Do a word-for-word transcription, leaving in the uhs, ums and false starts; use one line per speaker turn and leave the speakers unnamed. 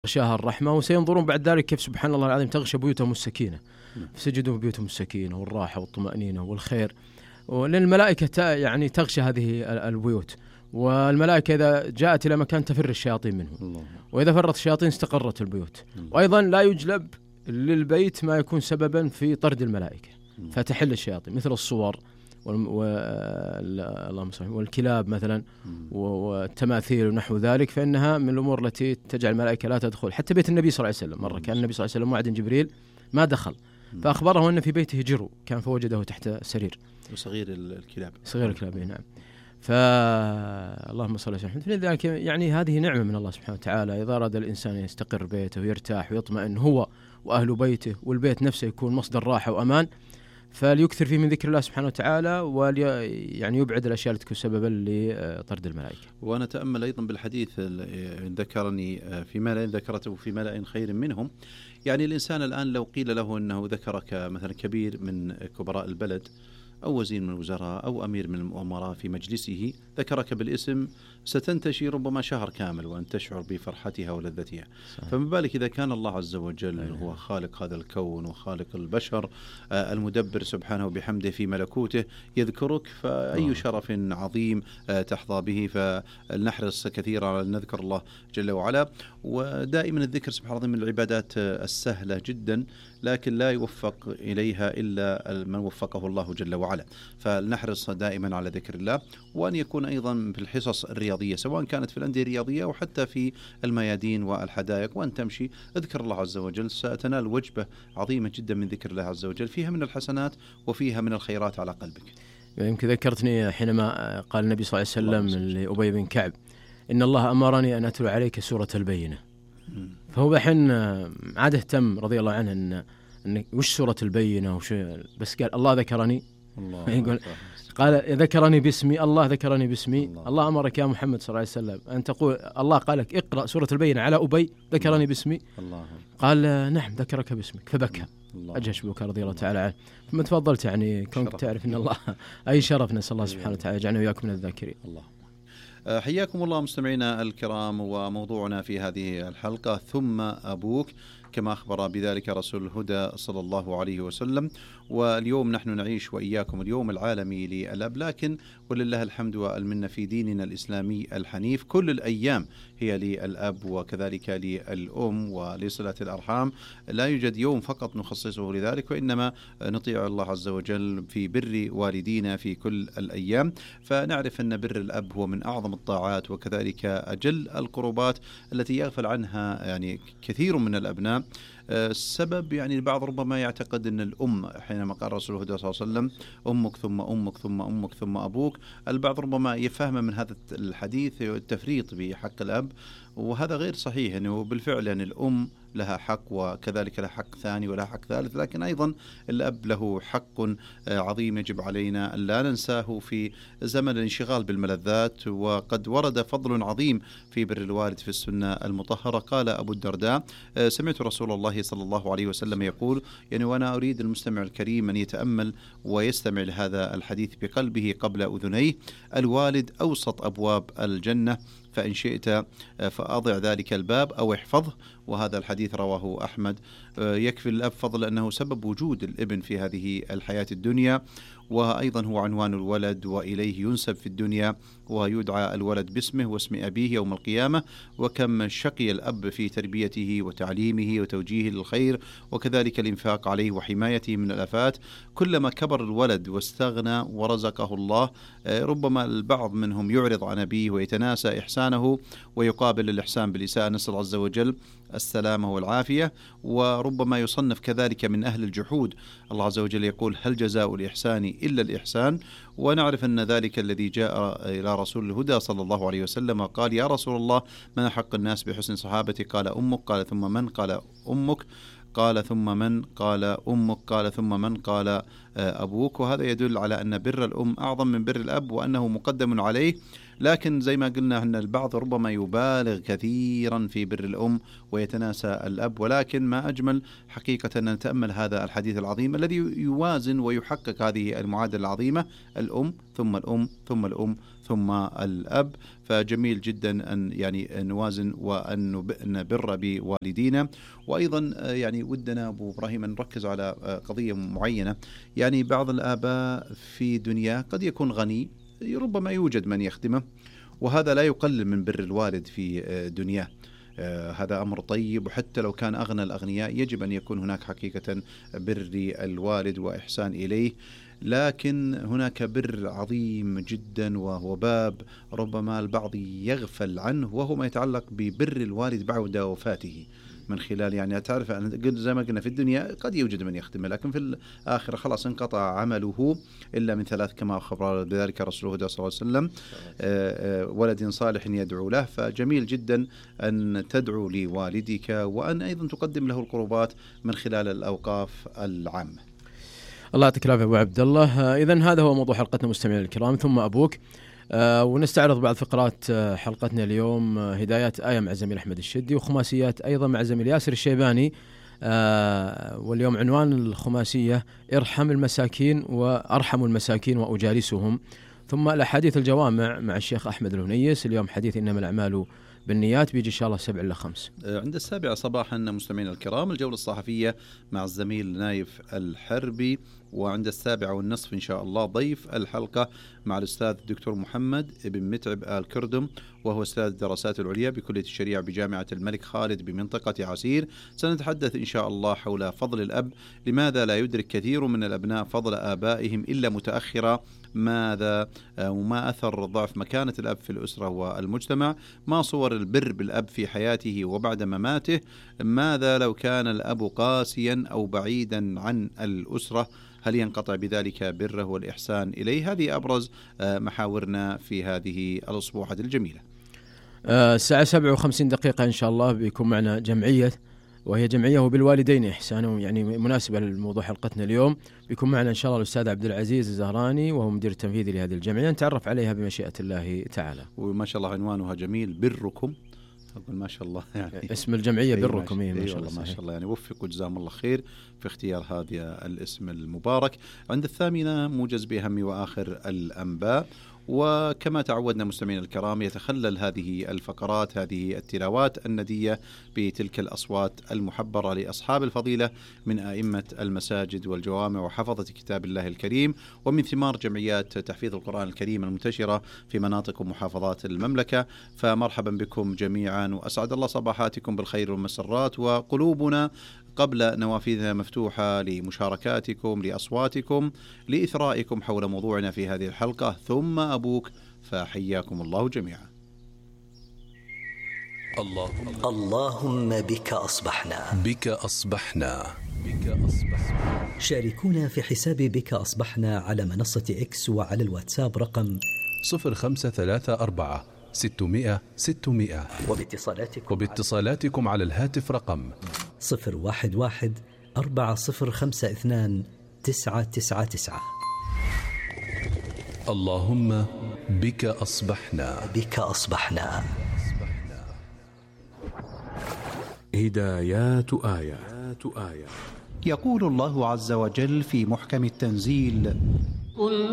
غشاها الرحمة، وسينظرون بعد ذلك كيف سبحان الله العظيم تغشى بيوتهم السكينة، فسجدوا بيوتهم السكينة والراحة والطمأنينة والخير. ولأن الملائكة يعني تغشى هذه البيوت، والملائكة إذا جاءت إلى مكان تفر الشياطين منه، وإذا فرت الشياطين استقرت البيوت. وأيضا لا يجلب للبيت ما يكون سببا في طرد الملائكة فتحل الشياطين، مثل الصور والكلاب مثلا والتماثيل ونحو ذلك، فإنها من الأمور التي تجعل الملائكة لا تدخل. حتى بيت النبي صلى الله عليه وسلم مرة كان النبي صلى الله عليه وسلم وعد جبريل ما دخل، فأخبره أن في بيته جرو كان فوجده تحت السرير
وصغير الكلاب
صغير الكلاب نعم. فاللهم صل وسلم. لذلك يعني هذه نعمة من الله سبحانه وتعالى، إذا أراد الإنسان يستقر بيته ويرتاح ويطمئن هو وأهل بيته، والبيت نفسه يكون مصدر راحة وأمان، فليكثر فيه من ذكر الله سبحانه وتعالى، ولي يعني يبعد الأشياء التي تكون سببا لطرد الملائكة.
وأنا تأمل أيضا بالحديث ذكرني في ملأ ذكرته في ملأ خير منهم. يعني الإنسان الآن لو قيل له أنه ذكرك مثلا كبير من كبراء البلد أو وزير من الوزراء أو أمير من الأمراء في مجلسه، ذكرك بالاسم، ستنتشي ربما شهر كامل وأن تشعر بفرحتها ولذتها. فما بالك إذا كان الله عز وجل أيه. هو خالق هذا الكون وخالق البشر، آه المدبر سبحانه بحمده في ملكوته يذكرك، فأي أوه. شرف عظيم آه تحظى به. فلنحرص كثيرا على أن نذكر الله جل وعلا. ودائما الذكر سبحان الله من العبادات السهلة جدا، لكن لا يوفق إليها إلا من وفقه الله جل وعلا. فلنحرص دائما على ذكر الله، وأن يكون أيضا في الحصص الرياضية سواء كانت في الأندية الرياضية أو حتى في الميادين والحدائق، وأن تمشي اذكر الله عز وجل، ستنال وجبة عظيمة جدا من ذكر الله عز وجل، فيها من الحسنات وفيها من الخيرات على قلبك.
يمكن ذكرتني حينما قال النبي صلى الله عليه وسلم لأبي بن كعب إن الله أمرني أن أتلو عليك سورة البينة. فهو بحين عاد اهتم رضي الله عنه أن, أن وش سورة البينة وش، بس قال الله ذكرني، الله يقول قال ذكرني باسمي، الله ذكرني باسمي، الله, الله أمرك يا محمد صلى الله عليه وسلم أن تقول الله قال لك اقرأ سورة البينة على أبي ذكرني باسمي، الله قال نعم ذكرك باسمك، فبكى أجهش بكى رضي الله تعالى عنه. ثم تفضلت يعني كونك تعرف أن الله أي شرف، نسأل الله سبحانه وتعالى يجعلنا وإياكم من الذاكرين.
الله حياكم الله مستمعينا الكرام، وموضوعنا في هذه الحلقة ثم أبوك، كما أخبر بذلك رسول الهدى صلى الله عليه وسلم. واليوم نحن نعيش وإياكم اليوم العالمي للأب، لكن ولله الحمد والمنة في ديننا الإسلامي الحنيف كل الأيام هي للأب وكذلك للأم ولصلة الأرحام. لا يوجد يوم فقط نخصصه لذلك، وإنما نطيع الله عز وجل في بر والدينا في كل الأيام. فنعرف أن بر الأب هو من أعظم الطاعات وكذلك أجل القربات التي يغفل عنها يعني كثير من الأبناء. السبب يعني البعض ربما يعتقد أن الأم، حينما قال رسول الله صلى الله عليه وسلم أمك ثم أمك ثم أمك ثم أبوك، البعض ربما يفهم من هذا الحديث التفريط بحق الأب، وهذا غير صحيح. يعني بالفعل يعني الأم لها حق وكذلك لها حق ثاني ولها حق ثالث، لكن أيضا الأب له حق عظيم يجب علينا أن لا ننساه في زمن الانشغال بالملذات. وقد ورد فضل عظيم في بر الوالد في السنة المطهرة. قال أبو الدرداء سمعت رسول الله صلى الله عليه وسلم يقول، يعني وأنا أريد المستمع الكريم أن يتأمل ويستمع لهذا الحديث بقلبه قبل أذنيه: الوالد أوسط أبواب الجنة، فإن شئت فأضع ذلك الباب أو احفظه. وهذا الحديث رواه أحمد. يكفي الأب فضل أنه سبب وجود الابن في هذه الحياة الدنيا، وأيضا هو عنوان الولد وإليه ينسب في الدنيا، ويدعى الولد باسمه واسم أبيه يوم القيامة. وكم شقي الأب في تربيته وتعليمه وتوجيهه للخير، وكذلك الإنفاق عليه وحمايته من الآفات. كلما كبر الولد واستغنى ورزقه الله، ربما البعض منهم يعرض عن أبيه ويتناسى إحسانه ويقابل الإحسان بالإساءة، نسأل عز وجل السلامة والعافية. وربما يصنف كذلك من أهل الجحود. الله عز وجل يقول: هل جزاء الإحسان إلا الإحسان؟ ونعرف أن ذلك الذي جاء إلى رسول الهدى صلى الله عليه وسلم قال: يا رسول الله، من أحق الناس بحسن صحابتي؟ قال: أمك. قال: ثم من؟ قال: أمك. قال: ثم من؟ قال: أمك. قال: ثم من؟ قال: أبوك. وهذا يدل على أن بر الأم أعظم من بر الأب، وأنه مقدم عليه لكن زي ما قلنا أن البعض ربما يبالغ كثيرا في بر الأم ويتناسى الأب، ولكن ما أجمل حقيقة أن نتأمل هذا الحديث العظيم الذي يوازن ويحقق هذه المعادلة العظيمة: الأم ثم الأم ثم الأم ثم الأب. فجميل جدا أن يعني نوازن وأن نبر بوالدينا. وأيضا يعني ودنا أبو إبراهيم أن نركز على قضية معينة. يعني بعض الآباء في دنيا قد يكون غني، ربما يوجد من يخدمه، وهذا لا يقلل من بر الوالد في دنياه. هذا أمر طيب، وحتى لو كان أغنى الأغنياء يجب أن يكون هناك حقيقة بر الوالد وإحسان إليه. لكن هناك بر عظيم جدا، وهو باب ربما البعض يغفل عنه، وهو ما يتعلق ببر الوالد بعد وفاته، من خلال يعني تعرف زي ما قلنا في الدنيا قد يوجد من يخدمه، لكن في الآخرة خلاص انقطع عمله إلا من ثلاث كما أخبر بذلك رسول الله صلى الله عليه وسلم: ولد صالح يدعو له. فجميل جدا أن تدعو لوالدك، وأن أيضا تقدم له القربات من خلال الأوقاف العامة.
الله يعطيك العافية أبو عبد الله. إذن هذا هو موضوع حلقتنا مستمعينا الكرام، ثم أبوك. آه ونستعرض بعض فقرات آه حلقتنا اليوم: آه هدايات آية مع زميل أحمد الشدي، وخماسيات أيضا مع زميل ياسر الشيباني. آه واليوم عنوان الخماسية: ارحم المساكين وأرحم المساكين وأجالسهم. ثم الأحاديث الجوامع مع الشيخ أحمد الهنيس. اليوم حديث إنما الأعمال بالنيات، بيجي إن شاء الله سبع إلى خمس.
عند السابعة صباحا مستمعينا الكرام الجولة الصحفية مع الزميل نايف الحربي. وعند السابعة والنصف إن شاء الله ضيف الحلقة مع الأستاذ الدكتور محمد بن متعب آل كردم، وهو أستاذ الدراسات العليا بكلية الشريعة بجامعة الملك خالد بمنطقة عسير. سنتحدث إن شاء الله حول فضل الأب. لماذا لا يدرك كثير من الأبناء فضل آبائهم إلا متأخرا؟ ماذا وما أثر ضعف مكانة الأب في الأسرة والمجتمع؟ ما صور البر بالأب في حياته وبعد مماته؟ ماذا لو كان الأب قاسيا أو بعيدا عن الأسرة؟ هل ينقطع بذلك بره والإحسان إليه؟ هذه أبرز محاورنا في هذه الأسبوعة الجميلة.
الساعة سبعة وخمسين دقيقة إن شاء الله بيكون معنا جمعية، وهي جمعية وبالوالدين إحسانا، يعني مناسبة للموضوع حلقتنا اليوم. بيكون معنا إن شاء الله الأستاذ عبد العزيز الزهراني، وهو مدير التنفيذي لهذه الجمعية، نتعرف عليها بمشيئة الله تعالى.
وما شاء الله عنوانها جميل: بركم. أقول ما شاء الله، يعني
اسم الجمعية بركم.
إيه ما شاء الله ما شاء الله، يعني وفقوا جزاهم الله خير في اختيار هذا الاسم المبارك. عند الثامنة موجز بأهم وآخر الأنباء. وكما تعودنا مستمعينا الكرام يتخلل هذه الفقرات هذه التلاوات الندية بتلك الأصوات المحبرة لأصحاب الفضيلة من أئمة المساجد والجوامع وحفظة كتاب الله الكريم، ومن ثمار جمعيات تحفيظ القرآن الكريم المنتشرة في مناطق ومحافظات المملكة. فمرحبا بكم جميعا، وأسعد الله صباحاتكم بالخير والمسرات، وقلوبنا قبل نوافذنا مفتوحة لمشاركاتكم، لأصواتكم، لإثرائكم حول موضوعنا في هذه الحلقة. ثم أبوك، فحياكم الله جميعا.
اللهم اللهم بك أصبحنا
بك أصبحنا بك أصبحنا.
شاركونا في حساب بك أصبحنا على منصة إكس وعلى الواتساب رقم
صفر خمسة ثلاثة أربعة ستمائة ستمائة،
وباتصالاتكم
وباتصالاتكم على الهاتف رقم
صفر واحد واحد أربعة صفر خمسة اثنان تسعة تسعة تسعة.
اللهم بك أصبحنا
بك أصبحنا.
هدايات آية.
يقول الله عز وجل في محكم التنزيل: